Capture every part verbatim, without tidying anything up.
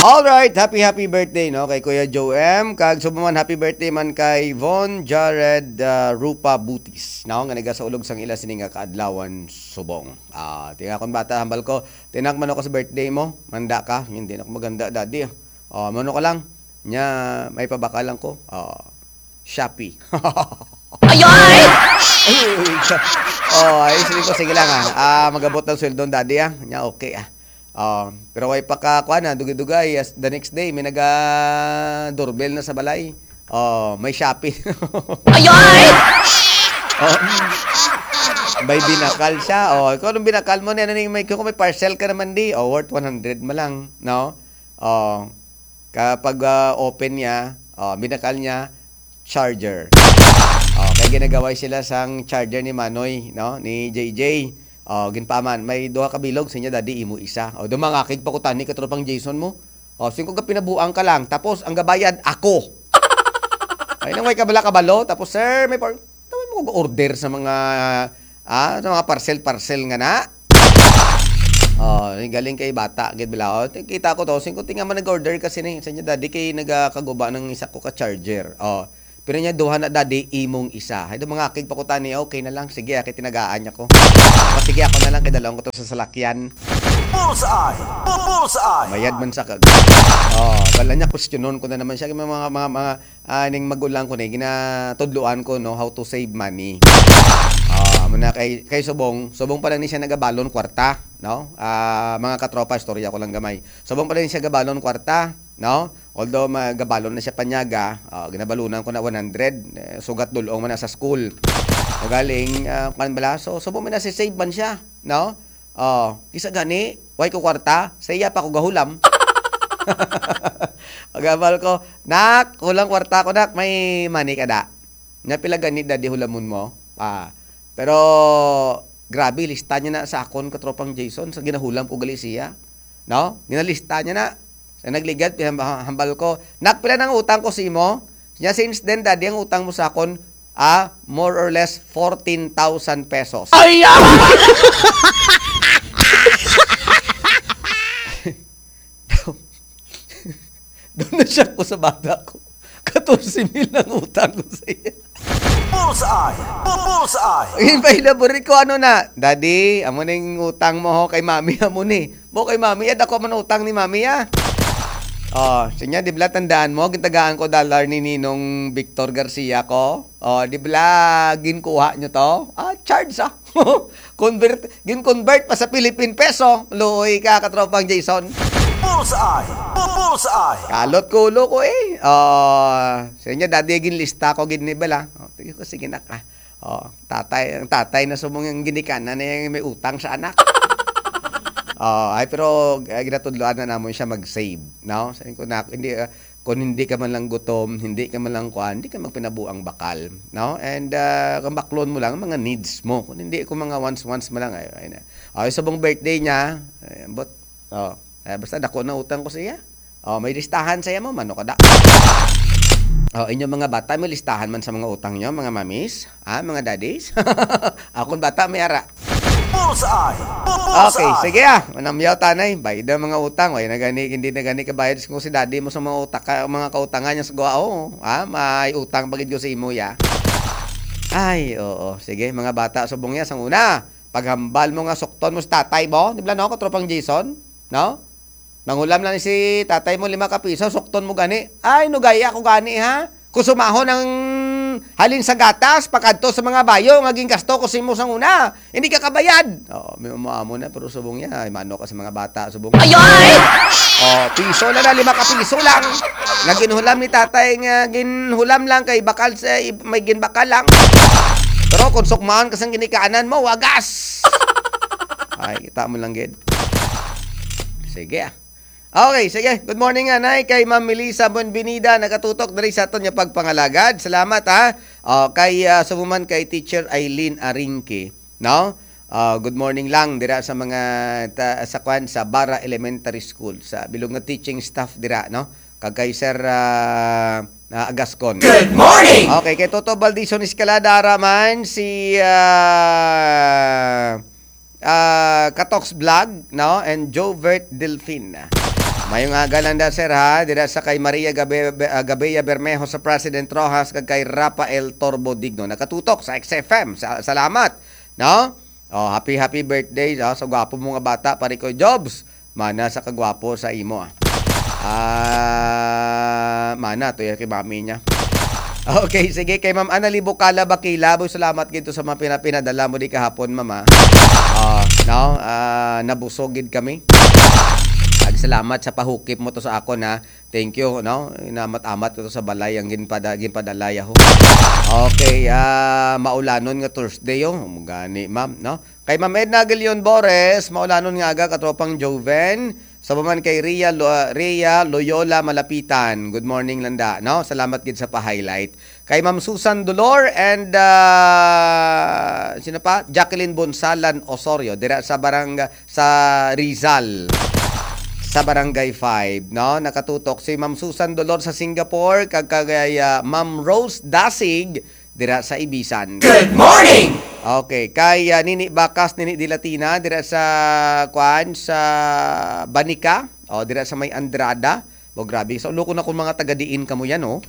All right, happy, happy birthday, no, kay Kuya Joe M. Kag subong man, happy birthday man kay Von Jared, ah, Rupa Butis, no, nga nagasaulog sang ila sini nga kaadlawan subong. Ah, tinga akon bata, hambal ko, "Tinak, mano ka sa birthday mo? Manda ka." "Hindi na ako maganda, daddy, ah." "Oh, mano ka lang?" "Nya, may pabakal lang ko." Oh, Shopee. Ayoy! Oh, ay, sige ko, sige lang, ah. Ah, magabot ang sweldo ni daddy, ah. Nya, okay, ah. Oh, pero way pa ka, kuan, ah, dugay-dugay. As the next day, may naga-doorbell na sa balay. Oh, may Shopee. Ayoy! Oh. May binakal siya. Oh, ikaw, anong binakal mo? Ano, may, kung may parcel ka naman, di. Oh, worth one hundred man lang, no? Oh, kapag, ah, open niya, oh, binakal niya, charger. Oh, kay ginagaway sila sang charger ni Manoy, no? Ni J J. Oh, ginpaaman, may duha ka bilog, sa inyo, daddy, imo isa. Oh, dumangakig pa ko tani, katropang Jason mo. Oh, singko ka pinabuang ka lang, tapos ang gabayad, ako. Ay, nang may kabala kabalo, tapos, "Sir, may par-," tawag mo ko order sa mga, ah, sa mga parcel-parcel nga na. Oh, galing kay bata, gid bala. Oh, kita ko to, singko tinga man nag-order kasi ni, sa inyo, daddy, kay nagakaguba ng isa ko ka charger. Oh, pero niya, "Duha na, daddy, imong isa." Ay, do mga akig pa ko tani, "Okay na lang, sige, ah, kay tinagaan niya ko." "O, sige, ako na lang, kay dalawang ko to sa salakyan." Bullseye! Bu-, bullseye! Mayad man sa kag-, oh, bala niya, kwestiyonon ko na naman siya. Mga, mga, mga, ah, ning magulang ko ni, ginatudloan ko, no, how to save money. Ah, amo na kay, kay subong, subong pa lang ni siya nagabalon kwarta, no? Ah, mga katropa, istorya ko lang gamay. Subong pa lang ni siya gabalon kwarta, no? Although magabalon na siya panyaga, ah, ginabalunan ko na one hundred, eh, sugat dulong man na sa school. O galing, ah, kan bala, so, subong may nasi-save man siya, no? Oh, kisa gani, way ko kwarta, sa iya pa ko gahulam. Pagabal ko, "Nak, kulang kwarta ko, nak, may money ka da?" "Nga pila gani, daddy, hulamon mo?" Ah, pero grabe, lista niya na sa akon, katropang Jason, sa ginahulam ko gali siya. No? Ginalista niya na. Sa nagligad, pinahamba-, hambal ko, "Nak, pila nang utang ko sa imo?" Niya, "Since then, daddy, ang utang mo sa akon, ah, more or less fourteen thousand pesos." Ay, ah! Doon na siya ko sa bata ko. Katorse mil ang utang ko sa iya. Bullseye! Bu-, bullseye! Ginpailabori ko, ano na, "Daddy, amo na yung utang mo, ho, kay mami, amo ni." "Mo kay mami, ad ako man utang ni mami, ah." Oh, sinya, di bala, tandaan mo, gintagaan ko dollar ni Ninong Victor Garcia ko. Oh, di bala, ginkuha nyo to? Ah, charge, ah. Convert, gin-convert pa sa Philippine peso. Luoy ka, katropang Jason. Bullseye! Bu-, bullseye! Kalot ko ulo ko eh. Oh, sa inyo, dati ginlista ko gid ni bala. Oh, tingin ko, sige na ka. Oh, tatay, ang tatay na subong yung ginikanan na yung may utang sa anak. Oh, ay, pero, ah, ginatudloan na namon siya mag-save, no? Sabi ko na, hindi, ah, kung hindi ka man lang gutom, hindi ka man lang kuan, hindi ka magpinabuang bakal, no? And, ah, kung baklon mo lang, mga needs mo. Kung hindi, kung mga wants, wants mo lang, ay, ay na. Oh, yung subong birthday niya, ay, but, oh, eh, basta dako na utang ko sa iya. Oh, may listahan sa iya mo, mano kada. Oh, inyong mga bata, may listahan man sa mga utang nyo, mga mamis, ah, mga daddies. Akong bata, may ara. Bullseye! Bu-, bullseye! Okay, sige ah. Manamyaw tanay. Bayad ang mga utang. Way na gani, hindi na gani kabayad kung si daddy mo sa mga utak, ka-, mga kautangan niya sa guwao. Ah, may utang pa gid ko sa imo, ya. Ay, oo. Sige, mga bata, subong ya. Sang una, paghambal mo nga sukton mo si tatay mo. Di ba, no, katropang Jason? No? Nanghulam lang si tatay mo lima ka piso, sukton mo gani. Ay, nugaya ko gani, ha? Kusumahon ang halin sa gatas, pakadto sa mga bayo nga gingasto ko sa imo sang una. Hindi ka kabayad. Oh, may umaamo na, pero subong niya. Ay, mano ka sa mga bata, subong. Ayoy! Oh, piso na na, lima ka piso lang. Nga ginhulam ni tatay nga ginhulam lang kay bakal sa, may ginbakal lang. Pero kung sukmaon ka sang ginikaanan mo, wagas. Ay, kita mo lang, gid. Sige, ah. Okay, sige. Good morning, anay, kay Ma'am Melissa Buenvenida, nagatutok diri sa aton nga pagpangalagad. Salamat, ha. Oh, kay, ah, sa woman kay Teacher Eileen Arinque, no? Ah, good morning lang dira sa mga ta-, sa kwan, sa Bara Elementary School, sa bilog nga teaching staff dira, no? Kag kay Sir, ah, ah, Agascon. Good morning! Okay, kay Toto Baldison Escalada, ara man si, ah, ah, Katox Vlog, no? And Jovert Delfin. Mayong aga lang da, sir, ha? Dira sa kay Maria Gabe, ah, Gabea Bermejo sa President Rojas kag kay Rafael Torbo Digno. Nakatutok sa X F M. Sa, salamat, no? Oh, happy, happy birthday, oh, sa gwapo mo nga bata, pare ko, Jobs. Mana sa kagwapo sa imo, ah. Ah, mana to yan kay mami niya. Okay, sige, kay Ma'am Annalie Bukala Bakila, boy, salamat gid to sa mga pina-, pinadala mo di kahapon, Ma'am, ah. Ah, no? Ah, nabusog gid kami. Ag salamat sa pahukip mo to sa akon, ha. Thank you, no? Inamat-amat ko to sa balay ang ginpada-, ginpadala yaho. Okay, ah, maulanon nga Thursday, oh. Gani, ma'am, no? Kay Ma'am Edna Aguilion Bores, maulanon nga aga, katropang Joven. Sa man kay Ria Lo-, Ria Loyola Malapitan. Good morning, landa, no? Salamat gid sa pa-highlight. Kay Ma'am Susan Dolor and, ah, sino pa? Jacqueline Bonsalan Osorio, dira sa barang-, sa Rizal, sa Barangay five, no? Nakatutok si Ma'am Susan Dolor sa Singapore, kag kay, ah, Ma'am Rose Dasig dira sa Ibisan. Good morning! Okay, kay, ah, Nini Bakas, Nini Dilatina, dira sa, kuan, sa Banica, o dira sa may Andrada. O, grabe. Sa ulo ko na kung mga taga diin kamo yan, oh.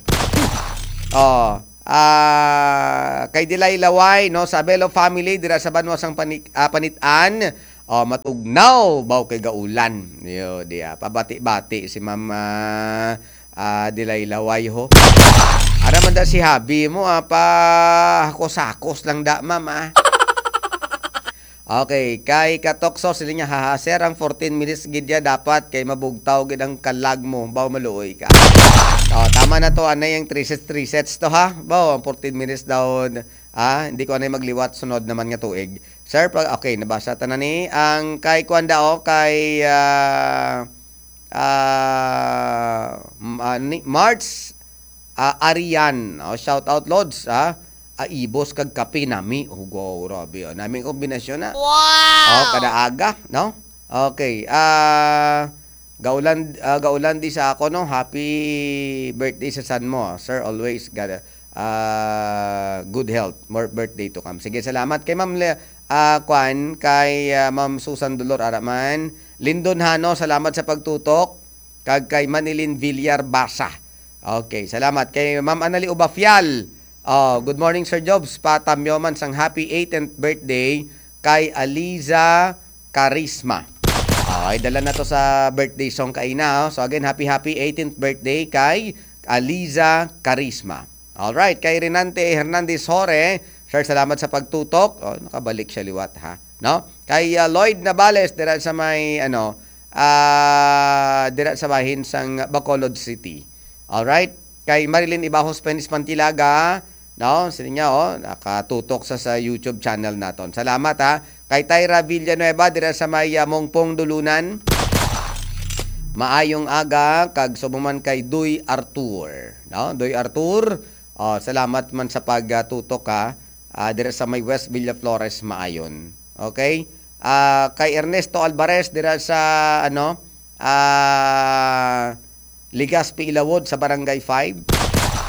Oh, ah, kay Dilay Laway, no, sa Abelo family, dira sa banwa sang Panik-, ah, Panitan. Oh, matugnaw, baw kay gaulan. Yo, diya. Pabati-bati si Ma'am, ah, ah, Dilay Laway, ho. Ara man da si Habi mo, ah, pa hakos-hakos lang da, ma'am, ah. Okay, kay Katokso, sila niya, "Haha, sir, ang fourteen minutes gid ya dapat kay mabugtaw gid ang kalag mo, baw maluoy ka." Oh, tama na to, anay ang three sets, three sets to, ha? Baw, ang fourteen minutes daw, ah, hindi ko anay magliwat sunod naman nga tuig. Sir, pa, okay, nabasa ta na ni. Ang kay kuan da, oh, kay, ah, ah, m-, ah, ni March, ah, Arian. Oh, shout out, Lods, ah. Ah, ibos kag kape nami. Oh, go, grabe, oh. Naming kombinasyon na. Wow! Oh, kada aga, no? Okay. Ah, gaulan, ah, gaulan di sa ako, no? Happy birthday sa san mo, sir. Always, God, ah, good health. More birthday to come. Sige, salamat kay Ma'am Le-, ah, kwan, kay, ah, Ma'am Susan Dolor Araman. Lindon Hano, salamat sa pagtutok. Kag kay Manilin Villar Basa. Okay, salamat. Kay Ma'am Anali Ubafial. Oh, good morning, Sir Jobs. Patamyo man sang happy eighteenth birthday kay Aliza Carisma. Okay, dala na to sa birthday song kaina, oh. So again, happy, happy eighteenth birthday kay Aliza Carisma. Alright, kay Renante Hernandez Hore, sir, salamat sa pagtutok. Oh, nakabalik siya liwat, ha, no? Kay, ah, Lloyd Navales, dira sa may, ano, ah, dira sa bahin sang Bacolod City. Alright? Kay Marilyn Ibajos Penis Pantilaga, no? Sino niya, oh, nakatutok sa, sa YouTube channel naton. Salamat, ha. Kay Tyra Villanueva, dira sa may, ah, Mongpong Dulunan. Maayong aga, kag subo man kay Doy Artur, no? Doy Artur, oh, salamat man sa pagtutok, ha. Ah, dira sa may West Villaflores, Maayon. Okay? Ah, kay Ernesto Alvarez, dira sa, ano, ah, Legazpi Ilawod sa Barangay five.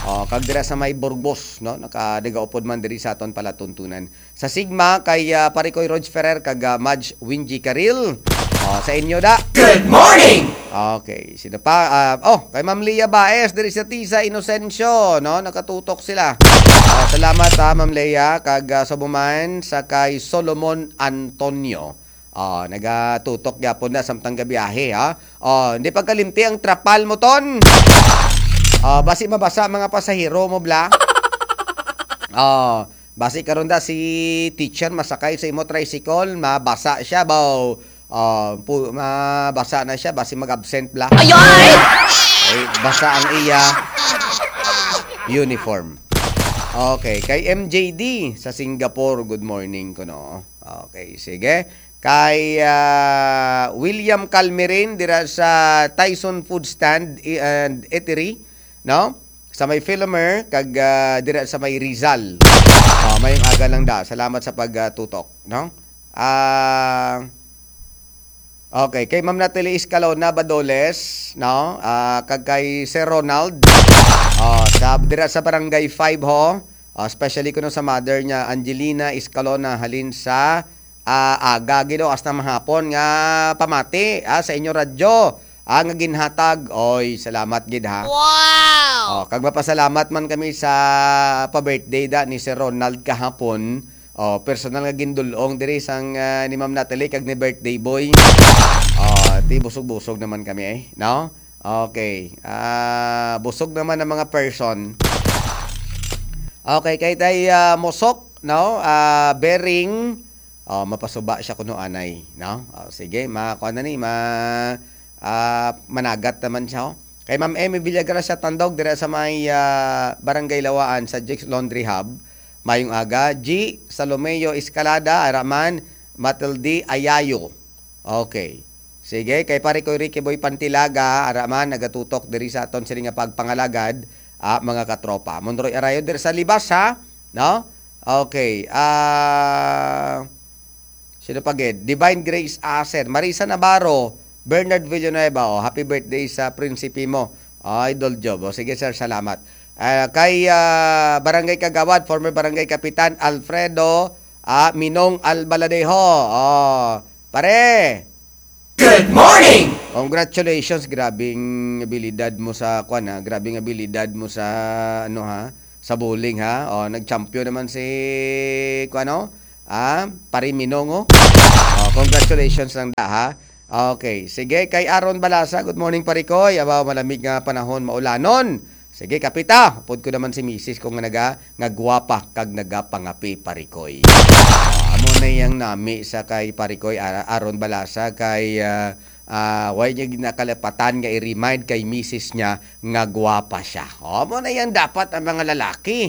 Oh, kag dira sa may Burgos, no? Naka-, nagaupod man diri sa aton palatuntunan. Sa Sigma, kay, ah, Pare Koy Rog Ferrer, kag, ah, Madge Wingy Caril. Oh, sa inyo da. Good morning! Okay, sino pa? Ah, oh, kay Ma'am Leah Baez, diri sa Tisa Inocencio, no? Nakatutok sila. Ah, salamat, ha, Ma'am Leah, kag, ah, sa buman sa kay Solomon Antonio. Oh, nagatutok gyapon na samtang gabiyahe, ha? Oh, hindi pagkalimti ang trapal mo, ton. Oh, basi mabasa mga pasahero mo, bla. Oh, basi karon da si teacher masakay sa imo tricycle, mabasa siya, baw. Oh, pu-, mabasa na siya, basi mag-absent, bla. Ayoy! Ay, basa ang iya uniform. Okay, kay M J D sa Singapore, good morning kuno. Okay, sige. Kay, ah, William Calmerin dira sa Tyson Food Stand i-, and Eatery, no? Sa may Philomer, kag, ah, dira sa may Rizal. Oh, mayong aga lang da. Salamat sa pagtutok, no? Ah, okay, kay Ma'am Natalie Escalona Badoles, no? Ah, kag kay Sir Ronald. Oh, sa, dira sa Barangay five ho. Ah, especially kuno sa mother niya, Angelina Escalona, halin sa, ah, aga gid o hasta mahapon nga pamati, ah, sa inyo radyo. Ah, nga ginhatag. Oy, salamat gid, ha. Wow! Oh, kag mapasalamat man kami sa pa-birthday da ni Sir Ronald kahapon. Oh, personal nga gindul-ong diri sang, ah, ni Ma'am Natalie kag ni birthday boy. Oh, ti busog-busog naman kami, eh, no? Okay. Ah, busog naman ang mga person. Okay, kay tay, ah, Mosok, no? Ah, Bering. Oh, mapasuba siya kuno anay, no? Oh, sige, ma-, kuwan na ni, ma-, ah, managat naman siya, oh. Kay Ma'am Emmy Villagracia Tandog, dira sa may, ah, Barangay Lawaan, sa Jake's Laundry Hub. Mayong aga. G, Salomeo Escalada, ara man, Matilde Ayayo. Okay. Sige, kay pare ko Ricky Boy Pantilaga, ara man, nagatutok diri sa aton sini nga pagpangalagad, ah, mga katropa. Monroy Arayo, diri sa Libas, ha? No? Okay. Ah, sino pa gid? Divine Grace Asen, Marisa Navarro, Bernard Villanueva. Oh, happy birthday sa prinsipe mo. Oh, Idol Job. Oh, sige, sir, salamat. Ah, kay, ah, Barangay Kagawad, former Barangay Kapitan Alfredo, ah, Minong Albaladejo. Oh, pare. Good morning! Congratulations, grabing abilidad mo sa, kwan, ha? Grabing abilidad mo sa, ano, ha? Sa bowling, ha? Oh, nag-champion naman si, kwan, no? Ah, pare Minong, oh. Oh, congratulations lang da, ha? Okay. Sige, kay Aaron Balasa, good morning, Parikoy. Abaw, malamig nga panahon, maulanon. Sige, kapita. Upod ko naman si misis ko nga naga-, nga gwapa kag nagapangapi, Parikoy. Ah, amo na yang nami sa kay Parikoy, Ara-, Aaron Balasa, kay, ah, ah, way niya ginakalapatan nga i-remind kay misis niya nga gwapa siya. Oh, amo na yang dapat ang mga lalaki.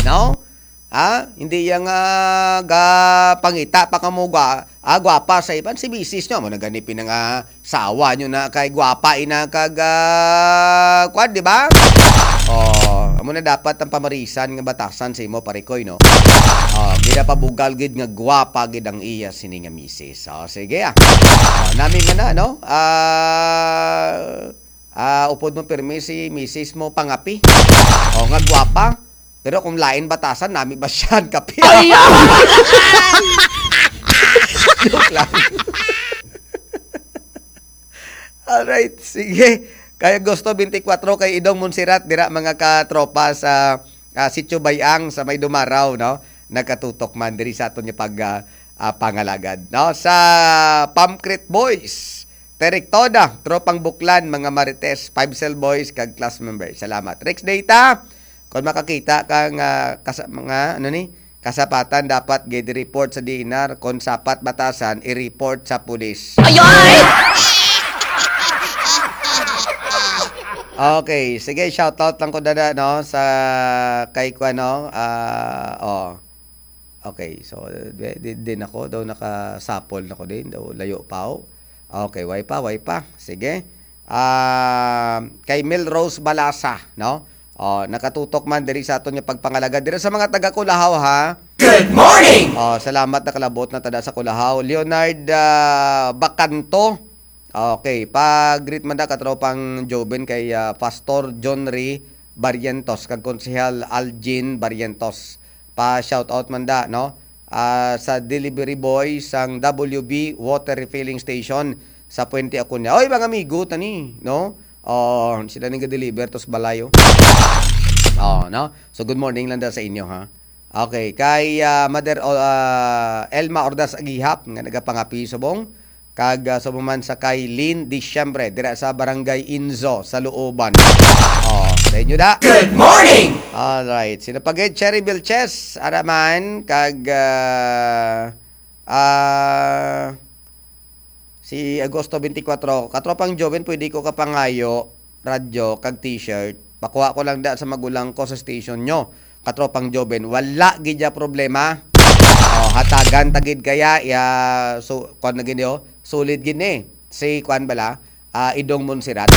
No? Ha? Hindi yang, ah, ga-, pangita pa kamo gwa-, ah, gwapa sa iban. Si misis nyo, amo na gani pinangasawa nyo na kay gwapa ina kag, ah, kwan, di ba? Oh, amo na dapat ang pamarisan nga batasan sa imo, Parikoy, no? Oh, ginapabugal gid nga gwapa gid ang iya sini nga misis. Oh, sige, ah. Oh, nami man na, no? Ah, ah, upod mo pirmi si misis mo pangapi. Oh, nga gwapa. Pero kung lain batasan, nami ba siya ang kape? Ay, ah! Joke lang. Alright, sige. Kay Agosto twenty-four, kay Idong Montserrat, dira mga katropa sa, ah, Sitio Bayang sa may Dumaraw, no? Nagkatutok man diri sa aton nga pag, ah, ah, pangalagad, no? Sa Pamcrit Boys, Terek Toda, Tropang Buklan, mga Marites, Five Cell Boys, kag class member. Salamat. Rex Data, kung makakita ka nga kasa-, mga, ano ni, kasapatan, dapat gid report sa D N R. Kung sapat batasan, i-report sa pulis. Ayoy! Okay, sige, shoutout lang ko dada, no, sa kay kuan, no, ah, oh. Okay, so, di, di, di na ko, daw nakasapol na ko din, daw layo pa, oh. Okay, way pa, way pa. Sige. Ah, kay Melrose Balasa, no? Oh, nakatutok man diri sa aton nga pagpangalagad diri sa mga taga Culahaw, ha. Good morning! Oh, salamat, nakalabot na tada sa Culahaw. Leonard, ah, Bacanto. Okay, pa-greet man da katropang Joven kay, ah, Pastor John Ray Barrientos kag Konsehal Algin Barrientos. Pa-shoutout man da, no? Ah, sa delivery boy sang W B water refilling station sa Puente Acuña. Oy, mga amigo, tani, no? Oh, sila ning ga-deliver to sa balay, oh. Oh, no? So, good morning lang da sa inyo, ha? Okay, kay, ah, Mother, oh, ah, Elma Ordaz Agihap, nga nagapangapi subong, kag, ah, subong man sa kay Lynn Diciembre, dira sa Barangay Inzo, sa Looban. Oh, sa inyo da. Good morning! Alright, sino pa gid? Cherry Vilches, ara man, kag, ah, ah, si Agosto twenty-four, katropang Joven, pwede ko kapangayo, radyo, kag t-shirt. Pakuha ko lang da sa magulang ko sa station nyo. Katropang Joven, wala gid ya problema. Oh, hatagan ta gid kaya, ya, so, kwan na gid yo, solid gid ni. Si kwan bala, ah, Idong Montserrat.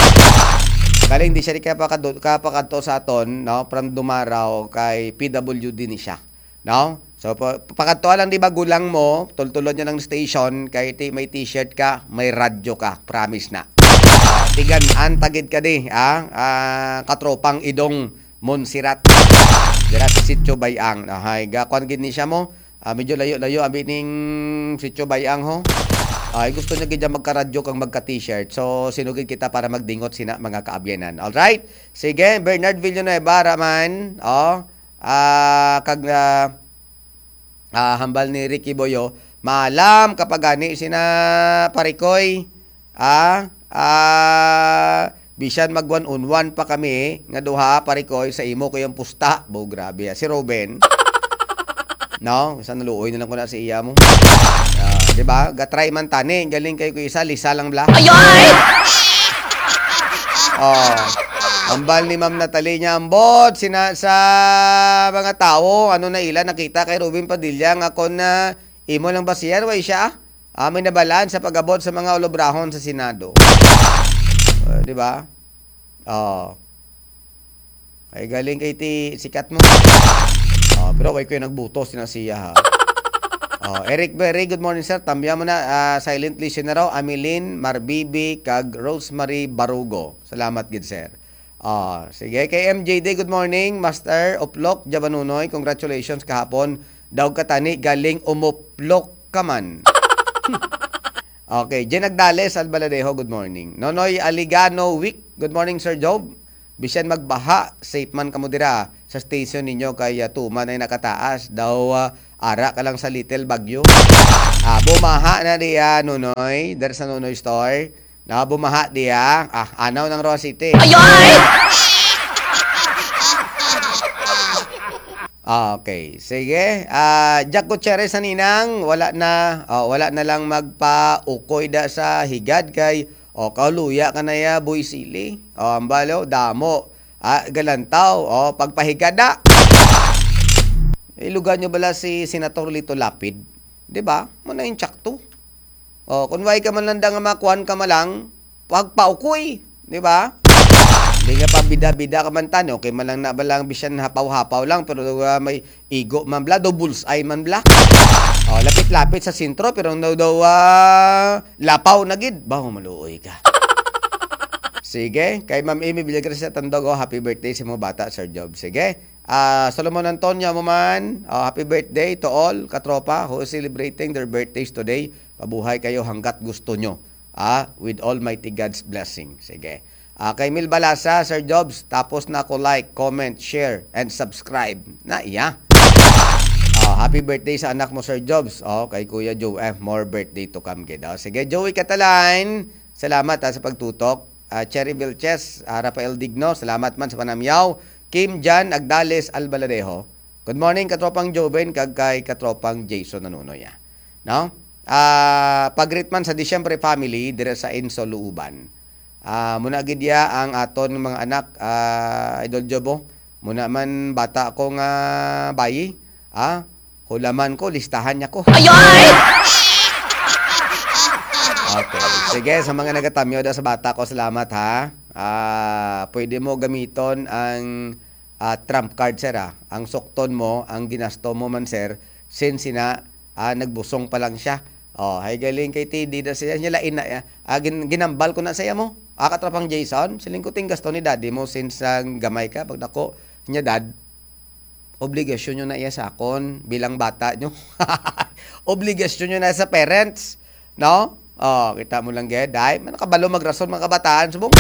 Galing di siya di kaya pakadu-, kapakadto sa aton, no? From Dumaraw kay P W D ni siya. No? So, pa-, pakadto lang di ba gulang mo, tultulon niya ng station, kay ti-, may t-shirt ka, may radyo ka, promise na. Tigan-an ta gid ka di, ah, ah, katropang Idong Montserrat. Dira sa Sitio Bayang. Ahay, gakwan gid ni siya mo. Ah, medyo layo-layo, abi ning Sitio Bayang ho. Ay, gusto niya gid magka-radyo kag magka-t-shirt. So, sinugid kita para magdingot sina mga kaabyanan. Alright? Sige, Bernard Villanueva, Raman. Oh, ah, kag, ah, ah, hambal ni Ricky Boyo, maalam kapag gani sina Parikoy. Ah, ah, bisan mag one on one pa kami nga duha, Parikoy, sa imo ko yung pusta. Bo, grabe, ah. Si Ruben. No? Sa naluoy na lang ko na sa iya mo. Ah, di ba? Gatry man tani. Galing kayo ko isa. Lisa lang bla. Ayoy! Oh. Ambal ni Ma'am Natalie niya, ambot sina sa mga tao, ano na ila nakita kay Ruben Padilla nga kon, ah, imo lang ba siya, way siya? Ah, may nabalaan sa pag-abot sa mga olobrahon sa Senado. Ah, di ba? Oh. Ay, galing kay ti sikat mo. Oh, pero way ko yung nagbutos na siya, ha. Oh, Eric Berry, good morning, sir. Tambya mo na, ah, silent listener raw. Amilin Marbibi kag Rosemary Barugo. Salamat gid, sir. Ah, sige, kay M J D, good morning. Master Oplok Jabanunoy, congratulations kahapon. Daw katani galing umuplok ka man. Okay, Jen Agdales, Albaladejo, good morning. Nonoy Aligano Wick, good morning, Sir Job. Bisan magbaha, safe man kamo dira sa station ninyo kay, ah, tuman ay nakataas. Daw, ah, ara ka lang sa Little Bagyo. Ah, bumaha na diya, Nonoy, der sa Nonoy Store. Na bumaha diya. Ah, anaw ng Roa City. Ayoy! Ah, okay. Sige. Ah, Jack Gutierrez sa ninang, wala na, oh, wala na lang magpaukoy da sa higad kay, oh, kaluya ka na ya, Boy Sili. Oh, ambalo, damo. Ah, galantaw. Oh, pagpahigada. Ilugan nyo bala si Senator Lito Lapid? Di ba? Mo na yung tsakto. Oh, kung way ka man lang da nga makuan ka man lang, pagpaukoy, di ba? Di nga pa bida-bida ka man tani, okay man lang na ba lang bisan hapaw-hapaw lang, pero, ah, may igo man bla, daw bullseye man bla. Oh, lapit-lapit sa sentro, pero daw, daw, ah, lapaw na gid. Baho maluoy ka. Sige, kay Ma'am Amy Villagracia Tandog, oh, happy birthday sa mga bata, Sir Job. Sige. Ah, Solomon Antonio mo man, oh, happy birthday to all katropa who is celebrating their birthdays today. Pabuhay kayo hanggat gusto nyo, ah, with Almighty God's blessing. Sige. Ah, kay Mil Balasa, Sir Jobs, tapos na ako like, comment, share, and subscribe. Na iya. Ah, happy birthday sa anak mo, Sir Jobs. Oh, kay Kuya Joe F, more birthday to come, kid. Oh, sige, Joey Catalan, salamat, ah, sa pagtutok. Ah, Cherry Vilches, ah, Rafael Digno, salamat man sa panamyaw. Kim Jan Agdales Albaladejo. Good morning, katropang Joven, kag kay katropang Jason Nanunoy, ah. No? Ah, pagreet man sa Disyembre family, dire sa Inso, Luuban. Ah, muna gid ya ang aton mga anak, ah, Idol Jobo. Muna man bata ko nga bayi, ah, hulaman ko, listahan niya ko. Ayoy! Okay. Sige, sa mga nagatamyo da sa bata ko, salamat ha. Ah, pwede mo gamiton ang, ah, trump card, sir, ah. Ang sukton mo, ang ginasto mo man, sir, since sina, ah, nagbusong pa lang siya. Oh, hay galing kay T D da siya, niya lain na, ah, ah, gin-, ginambal ko na sa iya mo. Ah, katrapang Jason, siling ko ting gasto ni daddy mo since, ah, gamay ka, pag dako niya dad, obligasyon nyo na iya sa akon bilang bata nyo. Obligasyon nyo na sa parents, no? Oh, kita mo lang gid, ay, man nakabalo magrason mga kabataan subong.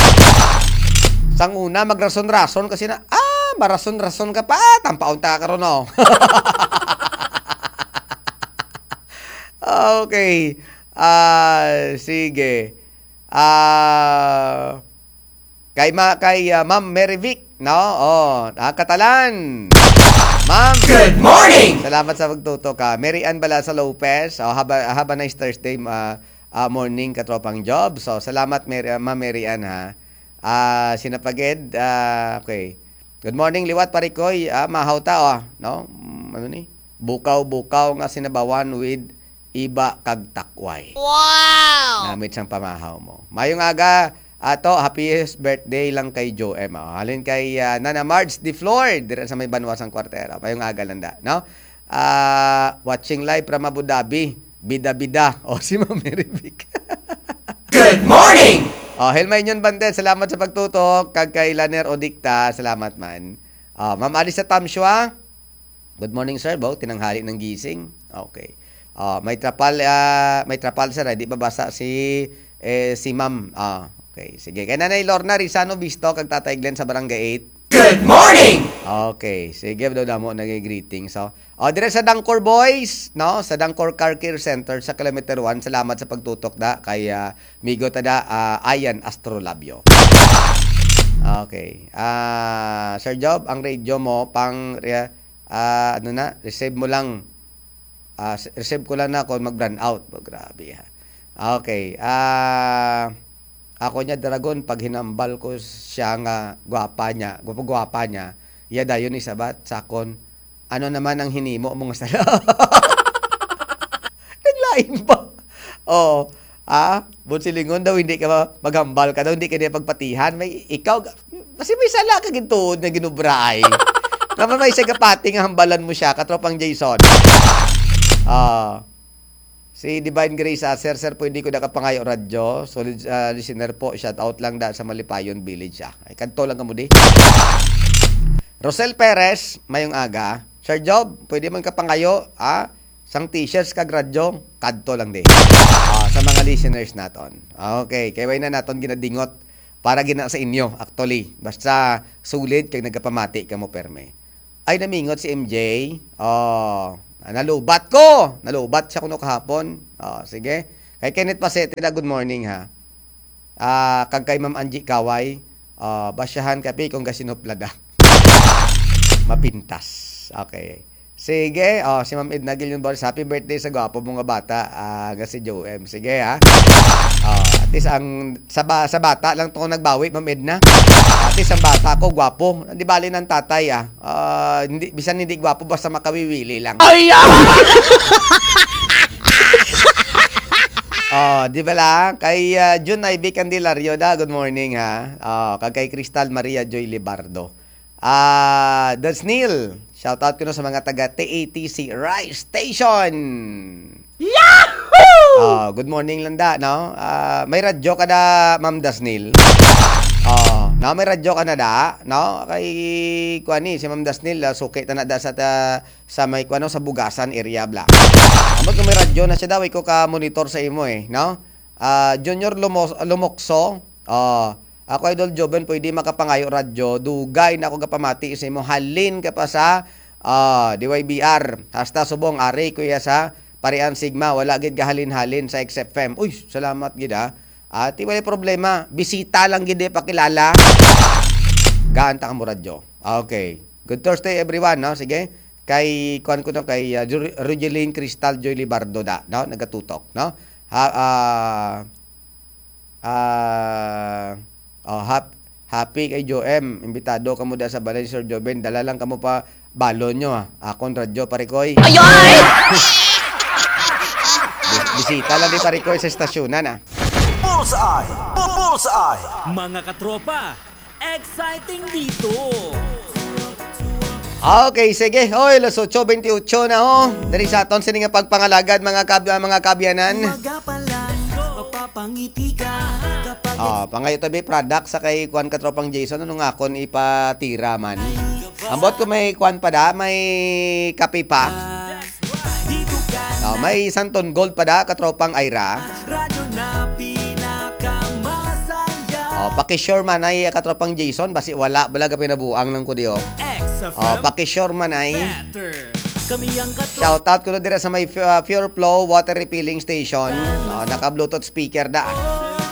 Sang una magrason-rason kasi na, ah, marason-rason ka pa, tampaon ta karon, no? Okay. Ah, sige. Ah, kay ma-, kay, ah, Ma'am Mary Vic, no? Oh, ah, Katalan. Ma'am. Good morning! Salamat sa pagtutok, ah. Mary Ann Balasa Lopez. Oh, have a, have a nice Thursday, ah, ah, morning, katropang Job. So, salamat, Mary, ah, Ma'am Mary Ann, ha. Ah, sinapagid, ah, okay. Good morning, liwat, parikoy. Ah, mahaw ta, oh, no? Mm, ano ni? Bukaw-bukaw nga sinabawan with iba kag takway. Wow! Namit sang pamahaw mo. Mayong aga, ato, happiest birthday lang kay Joe M. Oh, halin kay, ah, Nana Marge de Flor, dira sa may Banwa sang Kwartera. Mayong aga lang da, no? Ah, watching live from Abu Dhabi. Bida-bida. Oh, si Ma'am Mary Vic. Good morning! Oh, Helma Inyon Bante, salamat sa pagtutok. Kag kay Laner Odicta, salamat man. Ah, Ma'am Alisa Tamshua, good morning, sir. Bo, tinanghali ng gising. Okay. Oh, may trapal, ah, may trapal, sir, ah. Di babasa si, eh, si ma'am. Ah, okay. Sige. Kay Nanay Lorna Rizano Bisto, kag Tatay Glenn sa Barangay eight. Good morning! Okay. Sige, daw damo naging greeting. So, oh, dire sa Dangkor Boys, no? Sa Dangkor Car Care Center sa Kilometer one. Salamat sa pagtutok da kay, ah, migo ta da, ah, Ayan Astrolabio. Okay. Ah, Sir Job, ang radio mo pang, ah, ano na, receive mo lang. Ah, s-, receive ko lang na kung mag-brownout. Oh, grabe, ha. Okay. Ah, ako niya, Dragon, pag hinambal ko siya nga gwapa niya, gwapa-gwapa niya, iya dayon isabat sa akon, "Ano naman ang hinimo mo nga sala?" Naglain pa. Oo. Ah, Bonsilingon daw, hindi ka ma-, maghambal ka daw, hindi ka niya pagpatihan. May, ikaw, kasi may sala ka gintuod nga ginubra ay. Naman may siya gapati nga hambalan mo siya, katropang Jason. Ah, si Divine Grace, ah, "Sir, sir, pwede ko nakapangayo radyo? Solid, ah, listener po. Shout out lang da sa Malipayon Village, ah." Ay, kadto lang ka mo di. Rosel Perez, mayong aga. "Sir Job, pwede man kapangayo, ah, sang t-shirts kag radyo?" Kadto lang di. Ah, sa mga listeners naton. Okay, kay way na naton ginadingot para gina sa inyo, actually. Basta solid kag nagapamati kamo perme. Ay, namingot si M J. Oh, nalubat ko! Nalubat siya kuno kahapon. Oh, sige. Kay Kenneth Pasete na, good morning, ha. Ah, kag kay Ma'am Angie Kaway, ah, basyahan kapi kung gasinuplada. Mapintas. Okay. Sige, oh, si Ma'am Edna Guillon Boris, "Happy birthday sa gwapo mo nga bata, ah, nga si Joem." Sige, ha? Oh, at least ang, sa ba-, sa bata lang to nagbawi, Ma'am Edna. At least ang bata ko, gwapo. Di bali ng tatay, ah. Ah, hindi, bisan hindi gwapo, basta makawiwili lang. Ay, ah! Oh, di ba lang? Kay, ah, June Ivy Candelario da, good morning, ha. Oh, kag kay Crystal Maria Joy Libardo. Ah, Dasnil, shout out ko no sa mga taga T A T C Rice Station. Yahoo! Oh, good morning lang da, no? Ah, may radyo ka da, Ma'am Dasnil? Oh, no, may radyo ka na da, no? Kay, kuan ni, si Ma'am Dasnil, ah, suki ta na da sa ta-, sa may, kuan, no, sa Bugasan area, bla. Ambot ko may radyo na siya daw, iko ka monitor sa imo eh, no? Ah, Junior Lumos-, Lumokso, ah, ako, Idol Joven, pwede makapangayo radyo, dugay na ako gapamati sa imo, halin ka pa sa, ah, D Y B R, hasta subong, ari, kuya, sa Parian Sigma, wala gid gahalin-halin sa X F M. Uy, salamat gid, ah. Ati, wala problema. Bisita lang gid, eh, pakilala. Gaan ta ka mo radyo. Okay. Good Thursday, everyone, no? Sige. Kay, kuan ko to, kay, ah, Ju-, Rujeline Cristal Joy Libardo da, no? Nagatutok, no? Ha, ah, ah, oh, hap-, happy kay Joem. Imbitado ka mo da sa balay ni Sir Joven. Dala lang ka mo pa balon nyo, ah. Akon radyo, pare koy. Ay, ay! Bis-, bisita lang di, pare koy, sa estasyonan, ah. Bullseye! Bu-, Bullseye! Mga katropa, exciting dito! Okay, sige. Hoy, alas otso bentiocho na, ho. Diri sa aton sini nga pagpangalagad, mga kab-, mga kabyanan. Umaga pa lang, mapapangiti ka kapag Oh, pangayo tabi product sa kay kuan, katropang Jason, ano nga akon ipatira man. Ambot ko may kuan pa da, may kape pa. Oh, may Santon Gold pa da, katropang Ira. Radyo na pinakamasaya. Oh, paki-sure man ay, katropang Jason, basi wala, bala ka pinabuang lang ko di, oh. X F M Oh, paki-sure man ay. Better. Kami ang katro- Shout out ko na dira sa may Fu-, ah, Pure Flow Water Refilling Station. Oh, naka-Bluetooth speaker da.